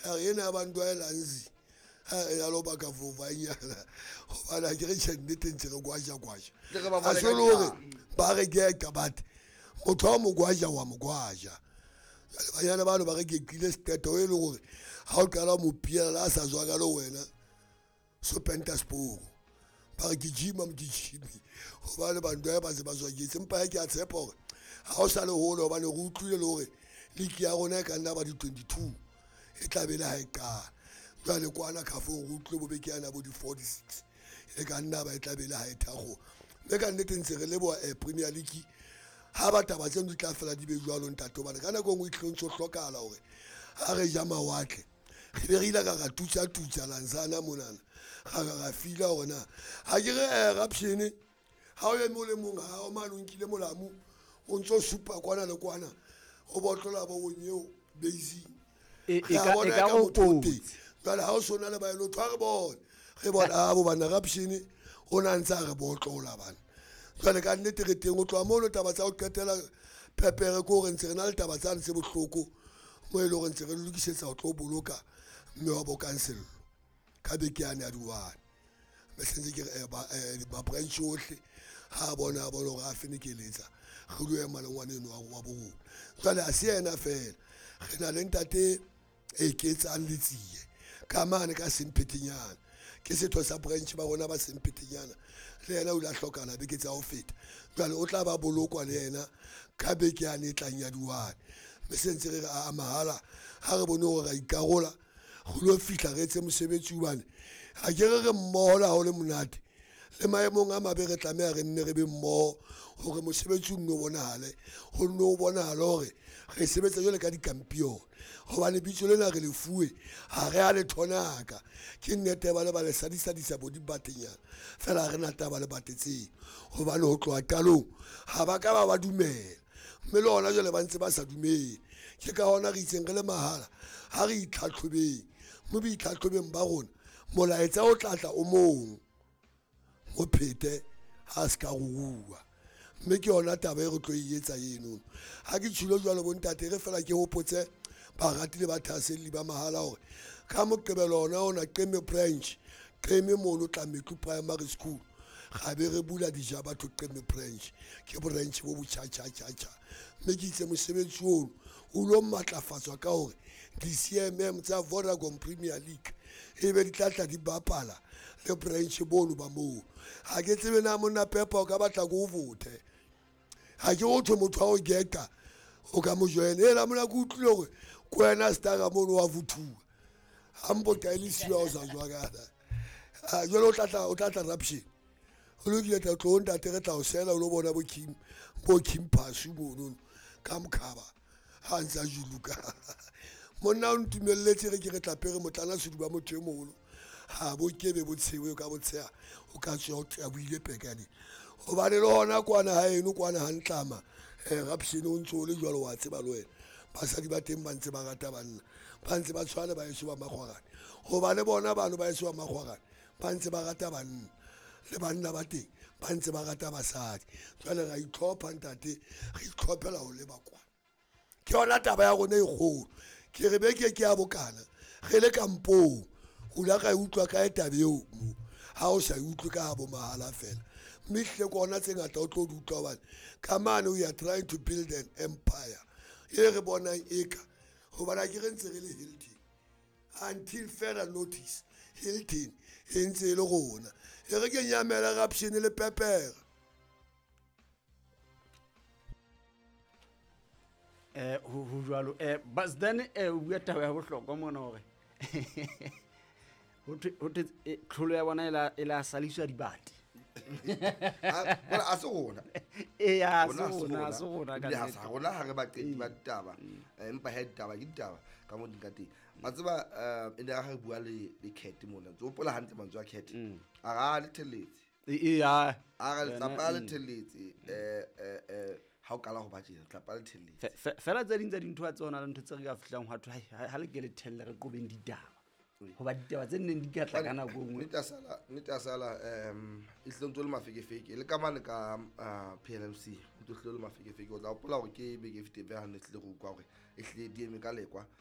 A re ena ya bantu a e lanzi ya lo baka vovanyana gobane a ke re tšhe nnete ntse re gwaja-gwaja Tle re ba a bone se ka le gore ditaba. Ba re geka bate motho wa mo gwaja wa mo gwaja. Jwale banyana bano ba re gekile seteto e le gore ga o qala mo piela le a sa zwaka le wena so penta sporo ba re ke gima mokijimi gobane bantu ba ba se ba zwaketse empa he ke a tshepa gore ga o sa le gole gobane re utlwile le gore league ya rona e ka nna ba di-22 e tla be le ga e qala. Jwale kwana kgafong re utlwile bobeke yana bo di-46 e ka nna ba e tla be le ga e thakgo mme ka nnete ntse re leboa Premier League ga ba taba tseno di tla fela di be jwalo ntate gobane ka nako e nngwe e tlile ntse o hlokala gore ga re ja mawatle re be re ile ka ra tutsa-tutsa lansana monana ga ka ra fila gore na ga ke re rapshene ga o eme o le mong ga o mane o nkile molamu o ntse o supa kwana le kwana o botlola bo onyeo basing. E Re a bona e ka ka go motho o teng. Kotsi. Jwale ha o sona le baelotho ha re bone re bona a bo bana rapshene o na ntse a re botlola bana. Jwale ka nnete re teng o tloha mono taba tsa ho qetela pepere ke hore ntse re na le taba tsane tse bohloko mo e leng hore ntse re lokisetsa ho tlo boloka mme wa bo kansello ka beke yane ya di-1 mme sentse ke re ba-branch ohle ha a bona a bona hore a fenekeletsa re lo ema le ngwana eno wa borona. Jwale ha se yena fela re na le ntate e ketsang letsie ka mane ka semphetenyana ke setho sa branch ba rona ba semphetenyana le yena o ile a hlokahala beke tsa ho feta. Jwale o tla ba bolokwa le yena ka beke yane e tlang ya di-1 mme se ntse re re a mahala ha re bone hore ra ikarola re lo fihla re etse mosebetsi hobane ha ke re re mmoho le ha ho le monate le maemong a mabe re tlameha re nne re be mmoho hore mosebetsi o nno bonahale ho nno o bonahale hore re sebetsa jwale ka dikampione gobane bitso lena re le fuwe ga re a le thonaka. Ke nnete ba le ba le sadisadisa bo dibatenyana fela ha re na taba le bate tseo gobane ho tloha qalong ga ba ka ba ba dumela mme le hona jwale ba ntse ba sa dumele. Ke ka hona re itseng re le mahala ha re itlhatlhobeng mme boitlhatlhobeng ba rona molaetsa o tlatla o mong mo phete ha se ka ruruwa mme ke yona taba e re tlo e etsa enono. Ha ke tshilo jwalo bontate re fela ke hopotse barati le bathahaselli ba mahala hore ka Moqebelo ona ona Qeme branch Qeme mono Tlametlo Primary School ga be re bula dija batho. Qeme branch ke branch bo botjhatjhatjhatjha mme ke itse mosebetsi ono o lo matlafatswa ka hore di-CMM tsa Vodacom Premier League e be di tla tla di bapala le branch bono ba moo. Ga ke tsebe na monna Pepa o ka batla ko o vote ga ke go thwe motho wa go geta o ka mo joina ela mona ke utlwile gore ko wena stara mono wa vothuwa ga mpo ka e le siwa o sa jwakana. Jwale o tla tla raption o lokile tla tlo ntate re tla o sela o lo bona bo Kim bo Kim Phasu monono ka mokhaba ha ntse a juluka monna o ntumelletse re ke re tla pere motlana seduba motho e moholo ha bo kebe bo tshewe ka botsheha o ka tswa o buile pekane hobane le hona kwana ha eno kwana ha ntlama raption o ntso o le jwalo wa tseba le wena basadi ba teng ba ntse ba rata banna ba ntse ba tshwana ba eso ba makgwarane hobane bona bano ba eso ba makgwarane ba ntse ba rata banna le banna ba teng ba ntse ba rata basadi. Jwale ra itlhopha ntate re itlhophela ho leba kwana ke yona taba ya rona e kgolo. Ke re beke ke ya bokana re le kampong o la ka e utlwa kae taba eo mo ha o sa e utlwe ka bo mahala fela mme hlile ke ona tse ngata o tlo di utlwa hobane ka mane we are trying to build an empire e re bonang eka hobane ha ke re ntse re le Hilton until further notice Hilton e ntse e le rona e re ke nyamela raption le pepere. Ho jwalo but then o bua taba ya bohlokwa mona hore ho thwe tlholo ya bona e la saliswa dibate. Bona a se rona. Ee, ha se Rona ha se rona, ha rona. se rona ka Ebile ha se nnete. rona ha re baqeti ba ditaba. Empa he ditaba ke ditaba ka mo di ka teng wa tseba e ne ha re bua le Cat mona ntse o hopola hantle mantswe a Cat a ra le thelletse. Ee, ha. A re Yena, letlapa le thelletse ha o qala ho ba tjena letlapa le thelletse. Fela tse ding tsa dintho tse hona le ntho tse re ka fihlang hwa thwe ha le ke le thelle re qobeng ditaba hoba ditaba tse nneng di ka tla ka nako e nngwe. Nnete ya sala e hlile ntse o le mafekefeke le ka mane ka PLMC ntse o hlile o le mafekefeke o tla hopola hore ke beke e fetileng ha ne hlile re utlwa hore e hlile di eme ka lekwa.